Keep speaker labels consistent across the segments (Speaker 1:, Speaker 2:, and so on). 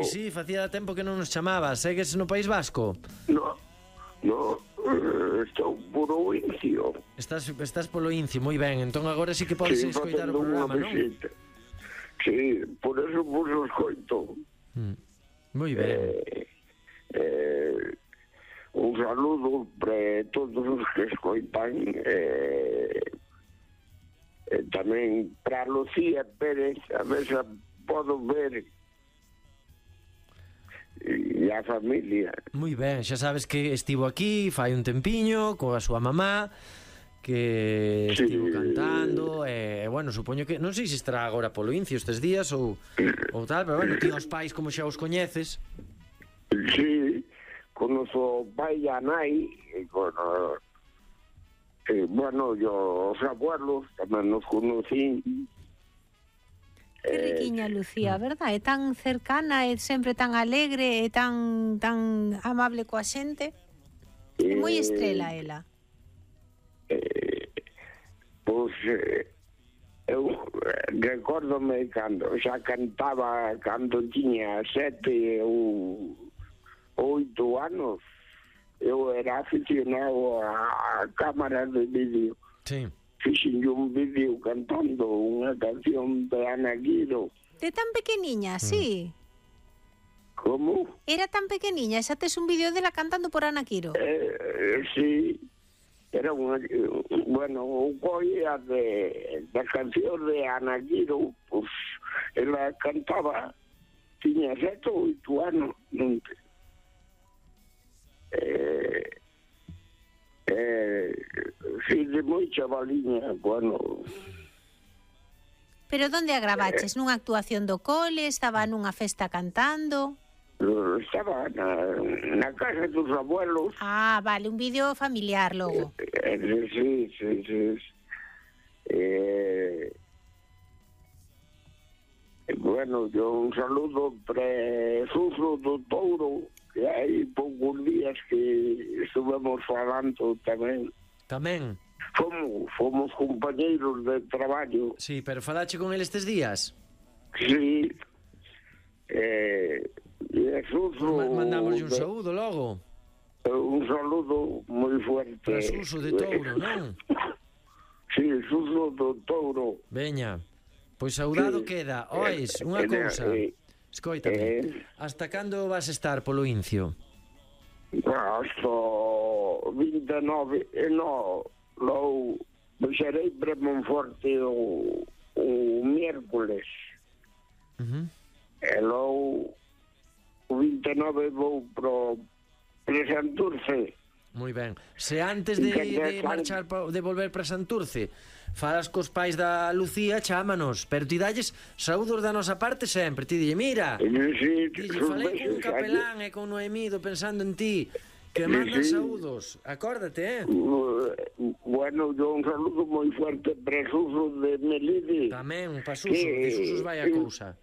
Speaker 1: Pois sí, facía tempo que non nos chamabas. Segues no País Vasco?
Speaker 2: No, estou puro Incio.
Speaker 1: Estás polo Incio, moi ben. Entón agora sí que podes escoitar o programa, non?
Speaker 2: Sí, por eso vos o escoito.
Speaker 1: Moi ben.
Speaker 2: Un saludo para todos os que escoitan, tamén para Lucía Pérez, a ver se podo ver, e a familia.
Speaker 1: Moi ben, xa sabes que estivo aquí fai un tempiño coa súa mamá, que estivo cantando, bueno, supoño que non sei se estará agora polo Incio estes días ou tal, pero bueno, ti os pais como xa os coñeces.
Speaker 2: Sí, conozo o pai e a nai, e bueno, os abuelos tamén nos conocí.
Speaker 3: Que riquiña Lucía, verdad? É tan cercana, é sempre tan alegre, é tan amable coa xente. É moi estrela ela.
Speaker 2: Pois eu recórdome cando xa cantaba cando tiña 7 ou 8 anos. Eu era aficionado a cámara de vídeo.
Speaker 1: Sí.
Speaker 2: Fixen un vídeo cantando unha canción de Ana Guido.
Speaker 3: De tan pequeniña, sí.
Speaker 2: Como?
Speaker 3: Era tan pequeniña, xa tes un vídeo dela cantando por Ana Quiro.
Speaker 2: Sí. Era unha... Bueno, o coia da canción de Ana Guido, pues, ela cantaba, tiña 7 ou 8 anos, non te... Sí, de moi chavaliña, bueno.
Speaker 3: Pero onde a gravaches? Nunha actuación do cole? Estaba nunha festa cantando?
Speaker 2: Estaba na casa dos abuelos.
Speaker 3: Ah, vale, un vídeo familiar logo.
Speaker 2: Sí. Bueno, yo un saludo para Suso do Touro, que hai poucos días que estuvemos falando tamén.
Speaker 1: Tamén?
Speaker 2: Fomos compañeiros de traballo.
Speaker 1: Sí, pero falache con ele estes días?
Speaker 2: Sí. Suso...
Speaker 1: Mandamos un saúdo logo.
Speaker 2: Un saludo moi fuerte.
Speaker 1: Para Suso de Touro, non?
Speaker 2: Sí, Suso do Touro.
Speaker 1: Veña, pois saudado queda. Ois, unha cousa. Escoítame, hasta cando vas estar polo Incio?
Speaker 2: Hasta 29, lo baixarei para Monforte o miércoles. E logo o 29 vou para Santurce.
Speaker 1: Moi ben. Se antes de marchar, de volver para Santurce, falas cos pais da Lucía, chámanos, pero ti dalles saúdos da nosa parte sempre. Ti dille, mira, falei con Capelán e con Noemído pensando en ti, que mandan saúdos. Acórdate,
Speaker 2: Bueno, yo un saludo moi fuerte para Suso de Melide.
Speaker 1: Tamén, para Suso, de Susos vai a cousa.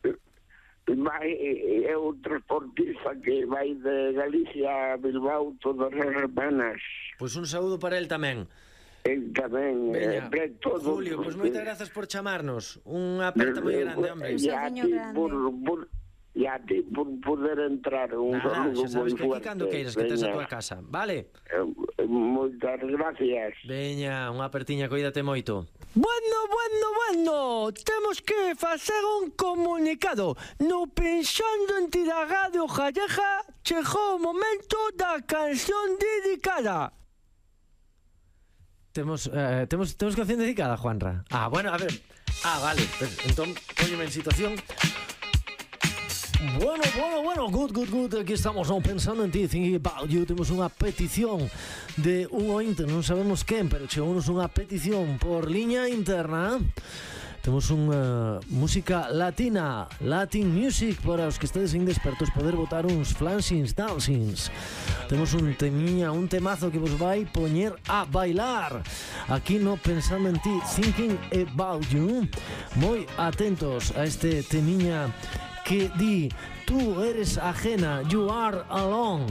Speaker 2: É o transportista que vai de Galicia a Bilbao todas as semanas.
Speaker 1: Pois un saúdo para el tamén.
Speaker 2: El tamén.
Speaker 1: Julio, pois moitas grazas por chamarnos. Unha aperta moi grande, hombre.
Speaker 2: E a ti por poder entrar. Un saludo
Speaker 1: xa sabes
Speaker 2: moi
Speaker 1: que aquí
Speaker 2: fuerte.
Speaker 1: cando queiras, que tes a tua casa, vale?
Speaker 2: Moitas gracias.
Speaker 1: Veña, unha apertiña, coídate moito.
Speaker 4: Bueno, temos que facer un comunicado. No Pensando en ti da Radio Gallega chegou o momento da canción dedicada.
Speaker 1: Temos canción dedicada, Juanra? Bueno, a ver. Vale, pues, entón, póñeme en situación.
Speaker 4: Bueno, good. Aquí estamos, no Pensando en ti, thinking about you. Temos unha petición de un ointe, non sabemos quen, pero chegounos unha petición por liña interna. Temos unha música latina, Latin music, para os que estades indespertos poder botar uns flansins, dancings. Temos un temazo que vos vai poñer a bailar aquí no Pensando en ti, thinking about you. Moi atentos a este temiña que di, tú eres ajena, you are alone.